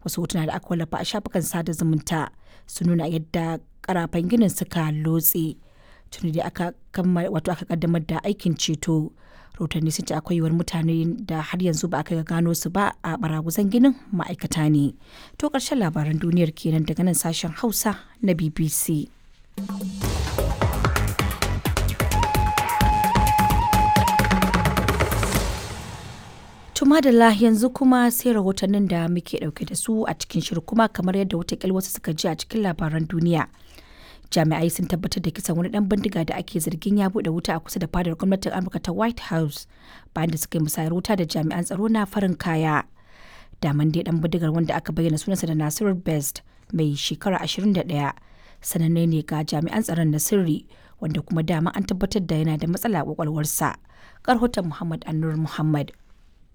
Wasu hotuna da aka wallafa a shafukan sada zumunta sun nuna yadda karafan ginin suka lotse. Tuni dai aka kammala wato aka kaddamar da aikin ceto. Rahotanni sun ce akwai yiwuwar mutane da har yanzu ba aka gano su ba a baraguzan ginin ma'aikata ne. To ƙarshen labaran duniyar kenan daga nan sashen Hausa na BBC. To madalla, yanzu kuma sai rahotannin da muke dauke da su a cikin shirin. Kuma kamar yadda watakil wasu suka ji a cikin labaran duniya, jami'ai sun tabbatar da kisan wani dan bindiga da ake zargin ya bude wuta a kusa da fadar gwamnatin Amurka ta White House bayan da suka yi musayar wuta da jami'an tsaro na farin kaya. Daman dai dan bindigar, wanda aka bayyana sunansa da Nasiru Best, mai shekara 21, sananne ne ga jami'an tsaron na sirri, wanda kuma dama an tabbatar da yana da matsala a kwakwalwarsa. Karhoton Muhammad Annur Muhammad.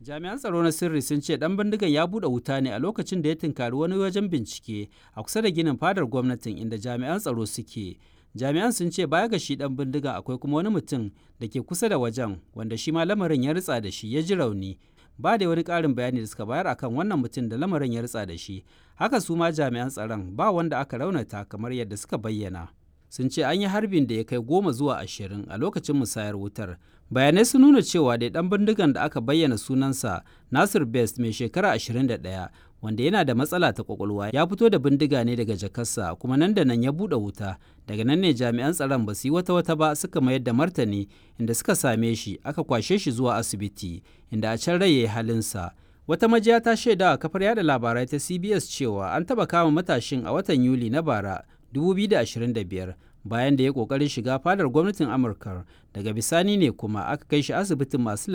Jami'an tsaro na sirri sun ce dan bindigan ya bude wuta ne a lokacin da ya tunkari wani wajen bincike a kusa da ginin fadar gwamnatin inda jami'an tsaro suke. Jami'an sun ce baya ga shi dan bindigan, akwai kuma wani mutum da ke kusa da wajen wanda shi ma lamarin ya ritsa da shi ya ji rauni. Ba da wani ƙarin bayani da suka bayar akan wannan mutum da lamarin ya ritsa da shi. Haka su ma jami'an tsaron ba wanda aka raunata kamar yadda suka bayyana. Sun ce an yi harbin da ya kai 10 zuwa 20 a lokacin musayar wutar. Bayanai sun nuna cewa dai dan bindigan da aka bayyana sunansa Nasir Best, mai shekara 21, wanda yana da matsala ta kwakwalwa, ya fito da bindiga ne daga jakarsa kuma nan da nan ya buɗe wuta. Daga nan ne jami'an tsaron ba su yi wata wata ba suka mayar da martani, inda suka same shi aka kwashe shi zuwa asibiti, inda a can rai ya yi halinsa. Wata majiya ta shaida a kafar yada labarai ta CBS cewa an taɓa kama matashin a watan Yuli na bara 2025 bayan da ya kokarin shiga fadar gwamnatin Amurka. Daga bisani ne kuma aka kai shi asibitin masu